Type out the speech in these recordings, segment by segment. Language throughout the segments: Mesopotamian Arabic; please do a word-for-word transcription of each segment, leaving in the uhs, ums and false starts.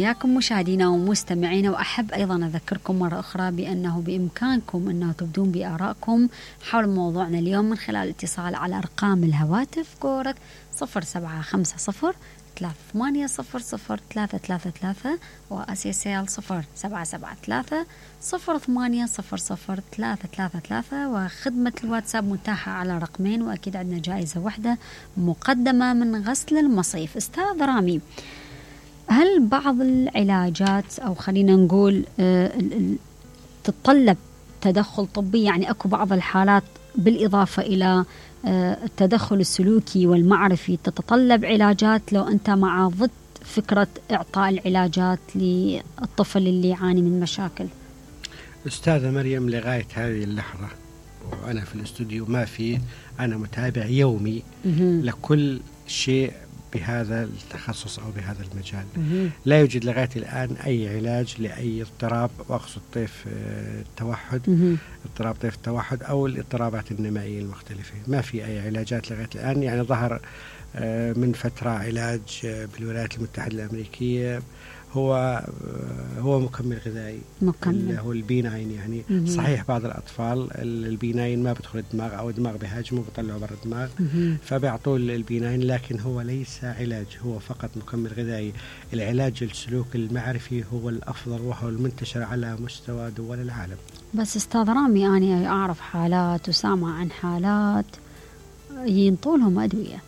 ياكم مشاهدينا ومستمعينا، وأحب أيضا أذكركم مرة أخرى بأنه بإمكانكم أنه تبدون بآرائكم حول موضوعنا اليوم من خلال الاتصال على أرقام الهواتف كورك صفر سبعة خمسة صفر ثلاثة ثمانية صفر صفر ثلاثة ثلاثة ثلاثة وأسيسيال صفر سبعة سبعة ثلاثة صفر ثمانية صفر صفر ثلاثة ثلاثة ثلاثة. وخدمة الواتساب متاحة على رقمين، وأكيد عندنا جائزة واحدة مقدمة من غسل المصيف. أستاذ رامي، هل بعض العلاجات أو خلينا نقول تتطلب تدخل طبي؟ يعني أكو بعض الحالات بالإضافة إلى التدخل السلوكي والمعرفي تتطلب علاجات، لو أنت مع ضد فكرة إعطاء العلاجات للطفل اللي يعاني من مشاكل؟ أستاذة مريم، لغاية هذه اللحظة وأنا في الاستوديو ما في، أنا متابع يومي لكل شيء بهذا التخصص أو بهذا المجال. مم. لا يوجد لغاية الآن أي علاج لأي اضطراب، وأقصد طيف التوحد، مم. اضطراب طيف التوحد أو الاضطرابات النمائية المختلفة. ما في أي علاجات لغاية الآن. يعني ظهر من فترة علاج بالولايات المتحدة الأمريكية، هو هو مكمل غذائي، مكمل هو البيناين. يعني مم. صحيح بعض الأطفال البيناين ما بدخل الدماغ أو الدماغ بهاجمه بيطلعه برا الدماغ، فبيعطوه البيناين، لكن هو ليس علاج، هو فقط مكمل غذائي. العلاج السلوك المعرفي هو الأفضل وهو المنتشر على مستوى دول العالم. بس أستاذ رامي، أنا أعرف حالات وسامع عن حالات ينطولهم أدوية،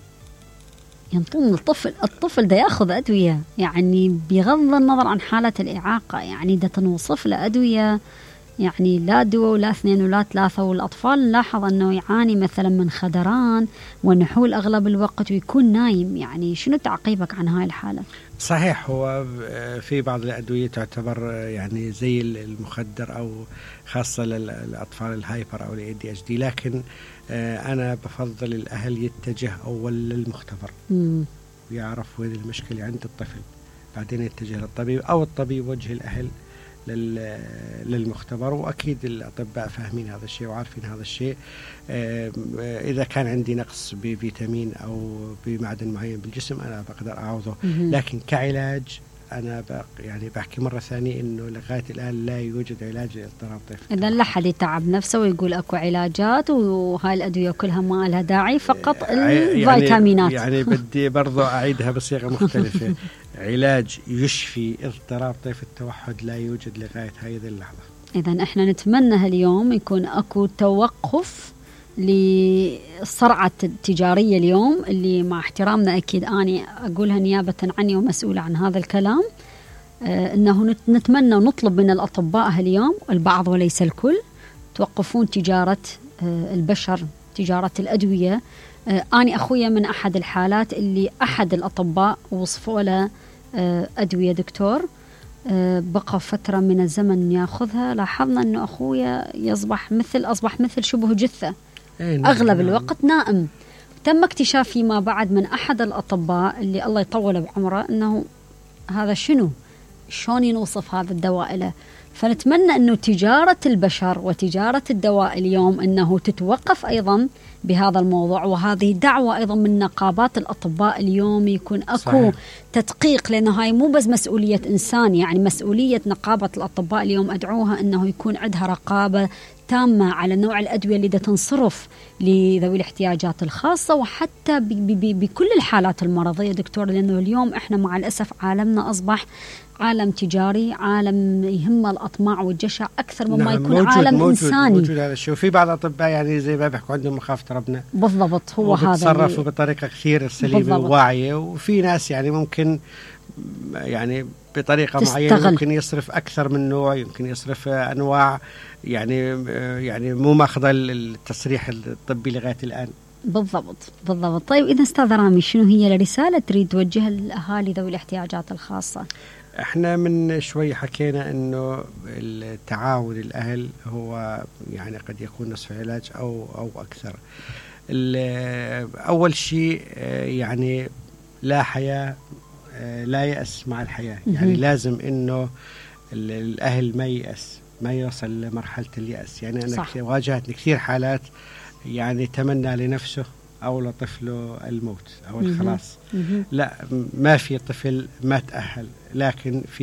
ينطون الطفل الطفل ده ياخذ أدوية، يعني بغض النظر عن حالة الإعاقة، يعني ده تنوصف له أدوية، يعني لا دواء ولا اثنين ولا ثلاثة. والأطفال نلاحظ أنه يعاني مثلا من خدران ونحول أغلب الوقت ويكون نايم. يعني شنو تعقيبك عن هاي الحالة؟ صحيح، هو في بعض الأدوية تعتبر يعني زي المخدر، أو خاصة للأطفال الهايبر أو الاي دي اتش دي، لكن أنا بفضل الأهل يتجه أول للمختبر ويعرف وين المشكلة عند الطفل، بعدين يتجه للطبيب، أو الطبيب وجه الأهل للمختبر. وأكيد الأطباء فاهمين هذا الشيء وعارفين هذا الشيء. إذا كان عندي نقص بفيتامين أو بمعدن معين بالجسم أنا بقدر أعوضه، لكن كعلاج أنا يعني بحكي مرة ثانية إنه لغاية الآن لا يوجد علاج لاضطراب طيف التوحد. إذا لا حد يتعب نفسه ويقول أكو علاجات وهاي الأدوية كلها ما لها داعي، فقط الفيتامينات. يعني, يعني بدي برضو أعيدها بصيغة مختلفة. علاج يشفي اضطراب طيف التوحد لا يوجد لغاية هذه اللحظة. إذن إحنا نتمنى اليوم يكون أكو توقف للصرعة التجارية اليوم، اللي مع احترامنا أكيد أنا أقولها نيابة عني ومسؤولة عن هذا الكلام، آه أنه نتمنى ونطلب من الأطباء اليوم، البعض وليس الكل، توقفون تجارة آه البشر، تجارة الأدوية. آه أنا أخويا من أحد الحالات اللي أحد الأطباء وصفوا له آه أدوية دكتور، آه بقى فترة من الزمن ياخذها، لاحظنا أنه أخويا يصبح مثل أصبح مثل شبه جثة، أغلب الوقت نائم. تم اكتشاف فيما بعد من أحد الأطباء اللي الله يطول بعمره أنه هذا شنو، شلون ينوصف هذا الدواء له. فنتمنى أنه تجارة البشر وتجارة الدواء اليوم أنه تتوقف أيضا بهذا الموضوع، وهذه دعوة أيضا من نقابات الأطباء اليوم يكون أكو صحيح. تدقيق، لأنه هاي مو بس مسؤولية إنسان، يعني مسؤولية نقابة الأطباء اليوم أدعوها أنه يكون عندها رقابة تامة على نوع الأدوية اللي دا تنصرف لذوي الاحتياجات الخاصة، وحتى بكل الحالات المرضية دكتور، لأنه اليوم إحنا مع الأسف عالمنا أصبح عالم تجاري، عالم يهم الأطماع والجشع أكثر مما نعم يكون موجود عالم موجود إنساني. موجود هذا الشيء. وفي بعض الأطباء يعني زي ما بيحكوا عندهم مخافة ربنا، بالضبط، هو هذا بيتصرفوا بطريقة كثير سليمة وواعية. وفي ناس يعني ممكن يعني بطريقة تستغل. معينة ممكن يصرف أكثر من نوع، يمكن يصرف أنواع يعني يعني مو ماخذ التصريح الطبي لغاية الآن. بالضبط بالضبط. طيب إذا أستاذ رامي، شنو هي الرسالة تريد توجهها للأهالي ذوي الاحتياجات الخاصة؟ احنا من شوي حكينا انه التعاون الأهل هو يعني قد يكون نصف علاج او او اكثر. اول شيء يعني لا حياة لا يأس مع الحياة، يعني لازم انه الاهل ما يأس، ما يوصل لمرحلة اليأس. يعني انا واجهتني كثير حالات يعني تمنى لنفسه أو لطفله الموت أو الخلاص. لا، ما في طفل ما تأهل، لكن في